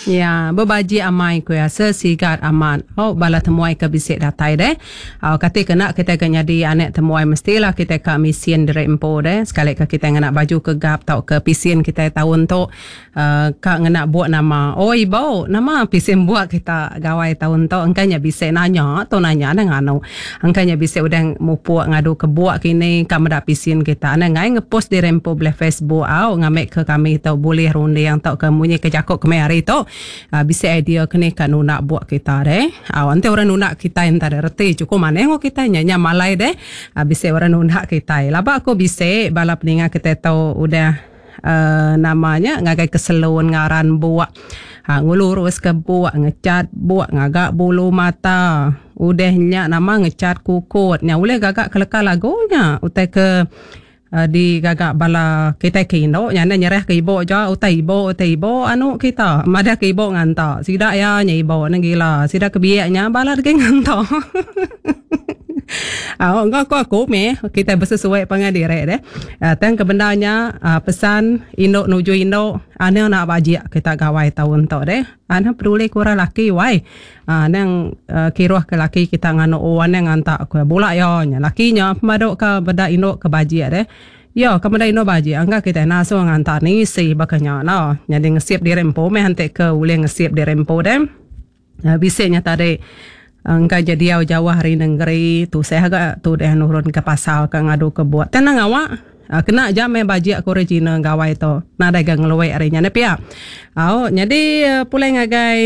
Ya, bebajik amai ku iya, sesigat amat. Au bala temuai ke bisi datai deh. Au kati kena kitai ke nyadi anak temuai mestilah kitai ka misin diri empu deh. Sekali ke kitai ngena baju ke gap tauka pisin kitai taun tu uhh ka ngena buk nama. Oi ibu, nama pisin buk kita gawai taun tu? Engka nya bisi nanya tu nanya neh nganu. Engka nya bisi udah mupuk ngadu ke buk kini ka meda pisin kita. Anang ngai ngepost diri empu belih Facebook au ngambi ke kami tu bulih runding tauka munyi ke jaku kemaya hari tu bisi idea ke ni ka nunda buk kita deh. Au enti orang nunda kitai enta deh reti chukup manah enggau kitai nya nya malai deh bisi orang nunda kitai. Laba ku bisi bala peninga kitai tu udah uhh nama nya ngagai ke salon ngaran buk ngelurus ke buk ngecat buk ngaga bulu mata udah nya nama ngecat kukut nya ulih gaga ke leka lagu nya utai ke Digaga bala kitai ke indu nya enda nyerah ke ibu ja utai ibu utai ibu anu kita madah ke ibu nganta sida iya nya ibu ne gila sida ke biak nya balat agi nganta au enggau ku aku mih kitai besesuai pangan diri deh tang ke bendar nya pesan indu nuju indu anang enda bajik kita gawai taun tu deh. Anang peduli ke orang laki wai. Anang kiruh ke laki kita nganu anang nganta ku iya. Bula iya nya laki nya pemadu ka meda indu ke bajik deh. Iya ka meda indu bajik angka kitai enda asuh nganta nisi baka nya no. Nyadi ngesip diri empu meh enti ke ulih ngesip diri empu deh. Bisi nya tadi engka ja diau jauh ari nengeri tusah ga tudeh nurun ke pasar ka ngadu ke buk. Tang nang awak. Kena aja meh bajik aku ari China gawai tu. Nadai ga ngeluek ari nya neh pia. Au nyadi pulai ngagai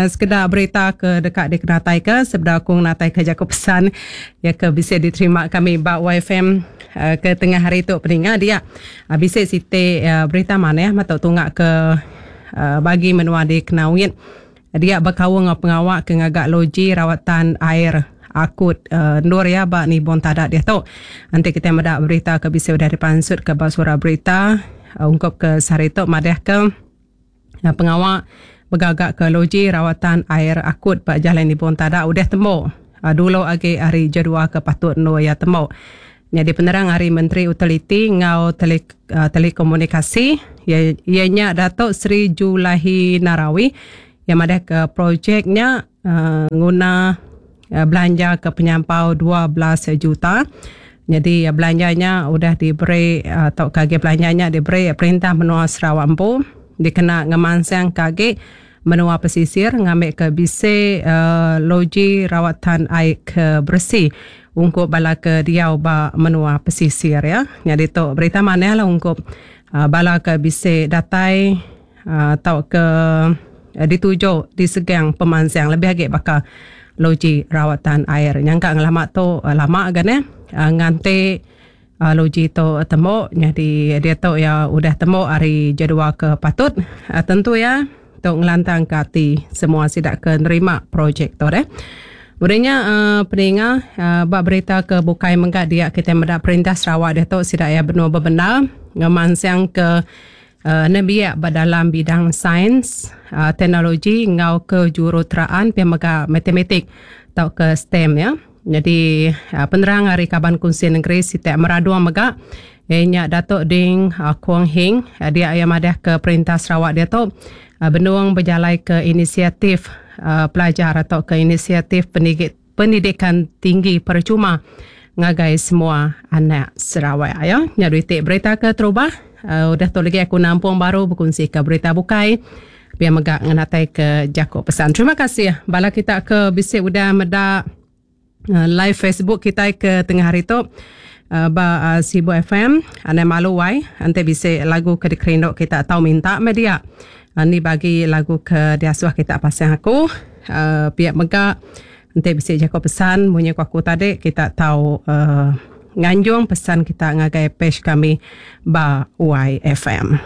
sekeda berita ke deka dikenataika sebedau aku ngenataika jaku pesan iya ke bisi diterima kami ba YFM ke tengah hari tu peninga dia. Bisi siti berita manah metu tunga ke bagi menua di Kenawit dia bekaul enggau pengawa ke ngaga loji rawatan air. Akut endur iya ba Nibong Tada diatu. Enti kitai meda berita ke bisi udah dipansutka ba surat berita ungkup ke sehari tu madahka pengawa begagaka loji rawatan air akut ba Jalai Nibong Tada udah tembu dulu agi ari jadual ke patut endur iya tembu. Nyadi penerang ari Menteri Utiliti enggau Telekomunikasi iya nya Datuk Seri Julaihi Narawi iya madahka projek nya nguna belanja ke penyampau 12 juta. Nyadi belanja nya udah diberi tauka agi belanja nya diberi perintah menua Sarawak empu dikena ngemansangka agi menua pesisir ngambika bisi loji rawatan ai ke beresi ungkup bala ke diau ba menua pesisir iya. Nyadi tu berita manah lah ungkup bala ke bisi datai tauka dituju disegang pemansang lebih agi baka loji rawatan air. Nyangka ngelama tu lama ga neh nganti loji tu tembu nyadi diatu iya udah tembu ari jadual ke patut tentu iya tu ngelantangka ati semua sida ke nerima projek tu deh. Udah nya peninga ba berita ke bukai mega dia kitai meda perintah Sarawak diatu sida iya benung bebendar ngemansangka Nembiak ba dalam bidang sains, teknologi enggau kejuruteraan pia mega matematik tauka STEM iya. Nyadi penerang ari Kaban Kunsil Nengeri Sitak Meradong mega iya nya Datuk Ding Kuong Hing dia iya madahka Perintah Sarawak diatu benung bejalaika inisiatif pelajar tauka inisiatif Pendidikan Tinggi Percuma ngagai semua anak Sarawak. Ya, nya dua iti berita ke terubah. Udah tu lagi aku nampung baru bekunsika berita bukai. Pia mega ngenatai ke jaku pesan. Terima kasih bala kita ke bisi udah meda live Facebook kitai ke tengah hari tu ba Sibu FM. Anang malu wai enti bisi lagu ke dikerindu kita tau minta meh dia. Ni bagi lagu ke diasuh kita pasang aku. Pia mega enti bisi jaku pesan munyi ku aku tadi kita tau nganjung pesan kita ngagai page kami ba YFM.